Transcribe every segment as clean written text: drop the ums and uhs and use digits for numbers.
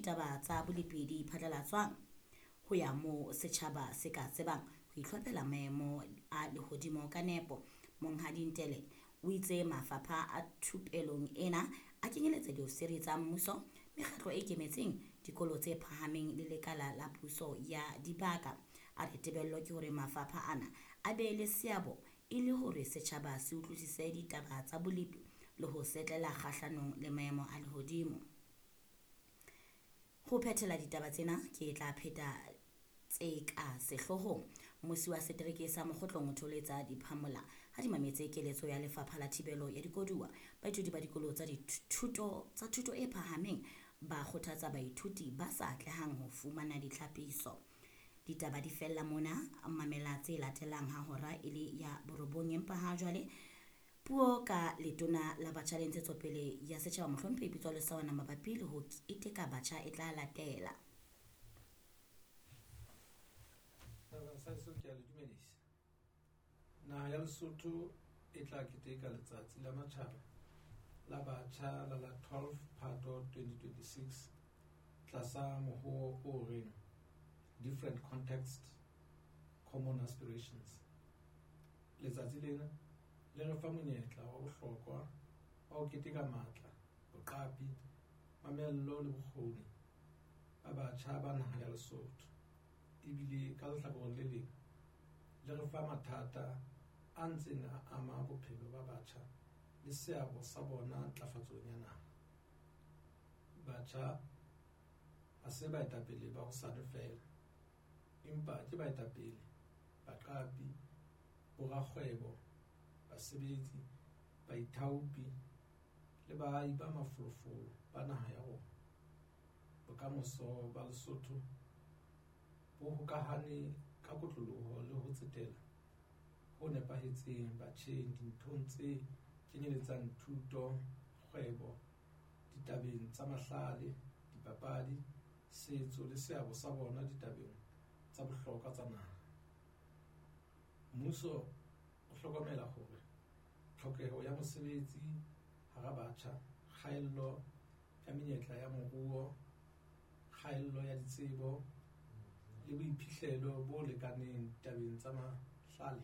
ditaba tsa bolepi di phatlalatswang ho ya moo setjhaba se ka tsebang ho itlhophela maemo a lehodimo ka nepo. Monghadi Ntele o itse mafapha a thupelong ena a kenyeletsa diofisiri tsa mmuso, mekgatlo e ikemetseng, dikolo tse phahameng le lekala la puso ya dibaka. A re tebello ke hore mafapha ana a be le seabo e le hore setjhaba se utlwisise ditaba tsa bolepi le ho setlela kgahlanong le maemo a lehodimo. Ho phethela ditaba tsena ke tla pheta tse ka sehloohong. Mmusi wa setereke sa Mokgotlong o tholetsa diphamola ha di mametse keletso ya Lefapha la Thibelo ya Dikoduwa. Baithuti ba dikolo tsa dithuto tsa thuto e phahameng ba kgothatsa baithuti ba sa atlehang ho fumana ditlhapiso. Ditaba di fella mona, mamela tse latelang ha hora e le ya borobong, empa ha jwale puo ka letona la batjha le ntshetsopele ya setjhaba mohlomphehi Pitso Lesawana mabapi le ho keteka batjha e tla latela. Setjhaba sa heso ke a le dumedisa. Naha ya Lesotho e tla keteka letsatsi la matjhaba la batjha la la 12 Phato 2026 tlasa mohoo o reng Different Context, Common Aspirations. Letsatsi lena le re fa monyetla wa bohlokwa wa ho keteka matla, boqapi, mamello le bokgoni ba batjha ba naha ya Lesotho. Ebile ka lehlakoreng le leng le re fa mathata a ntseng a ama bophelo ba batjha le seabo sa bona ntlafatsong ya naha. Batjha ha se baetapele ba hosane feela, empa ke baetapele, baqapi, borakgwebo, basebetsi, baithaopi le baahi ba mafolofolo ba naha ya rona. Bokamoso ba Lesotho bo hokahane ka kotloloho le ho tsetela ho nepahetseng batjheng dinthong tse kenyeletsang thuto, kgwebo, ditabeng tsa mahlale, dipapadi, setso le seabo sa bona ditabeng tsa bohlokwa tsa naha. Mmuso o hlokomela hore tlhokeho ya mosebetsi hara batjha, kgaello ya menyetla ya moruo, kgaello ya ditsebo le boiphihlelo bo lekaneng ditabeng tsa mahlale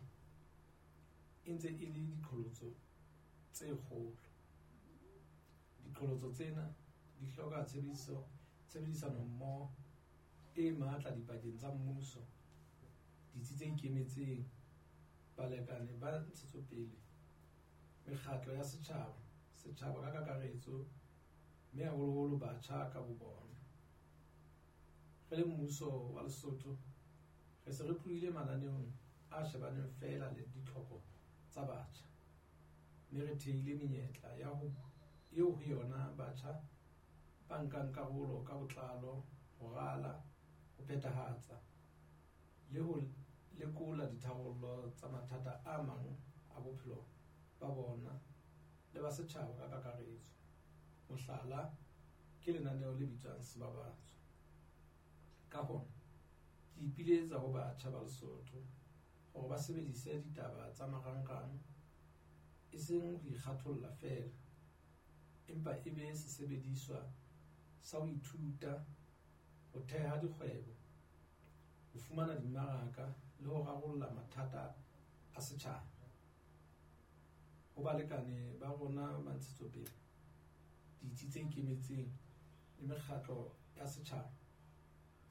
e ntse e le diqholotso tse kgolo. Diqholotso tsena di hloka tshebedisanommoho e matla dipakeng tsa mmuso, ditsi tse ikemetseng, balekane ba ntshetsopele, mekgatlo ya setjhaba, setjhaba ka kakaretso, mme haholoholo batjha ka bobona. Re le mmuso wa Lesotho, re se re tlohile mananeong a shebaneng feela le ditlhoko tsa batjha, mme re thehile menyetla eo ho yona batjha ba nkang karolo ka botlalo ho rala, ho phethahatsa le ho lekola ditharollo tsa mathata a mang a bophelo ba bona le ba setjhaba ka kakaretso. Mohlala ke lenaneo le bitswang Sebabatso. Ka hona, ke ipiletsa ho batjha ba Lesotho hore ba sebedise ditaba tsa marangrang e seng ho ikgatholla feela, empa e be sesebediswa sa ho ithuta, ho theha dikgwebo, ho fumana dimmaraka le ho rarolla mathata a setjhaba. Ho balekane ba rona ba ntshetsopele, ditsi tse ikemetseng le mekgatlo ya setjhaba,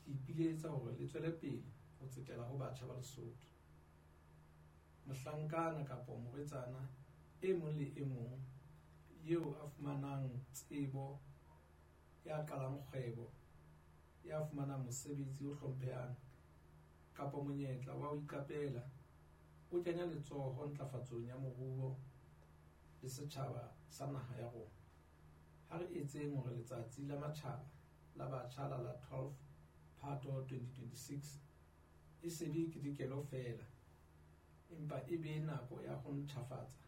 ke ipiletsa hore le tswele pele ho tsetela ho batjha ba Lesotho. Mohlankana kapa morwetsana e mong le e mong eo a fumanang tsebo, ya qalang kgwebo, ya fumanang mosebetsi o hlomphehang kapa monyetla wa ho iqapela, o kenya letsoho ntlafatsong ya moruo le setjhaba sa naha ya rona. Ha re etseng hore letsatsi la matjhaba la batjha la la 12 Phato 2026 e se be ketekelo feela, empa e be nako ya ho ntjhafatsa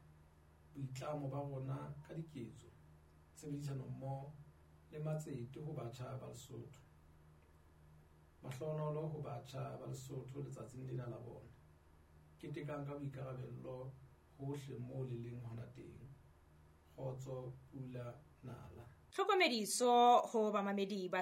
boitlamo ba rona ka diketso, tshebedisanommoho le matsete ho batjha ba Lesotho. Mahlohonolo ho batjha ba Lesotho letsatsing lena la bona. Ketekang ka boikarabello hohle moo le leng hona teng. Kgotso, pula, nala. Tlhokomediso ho bamamedi ba.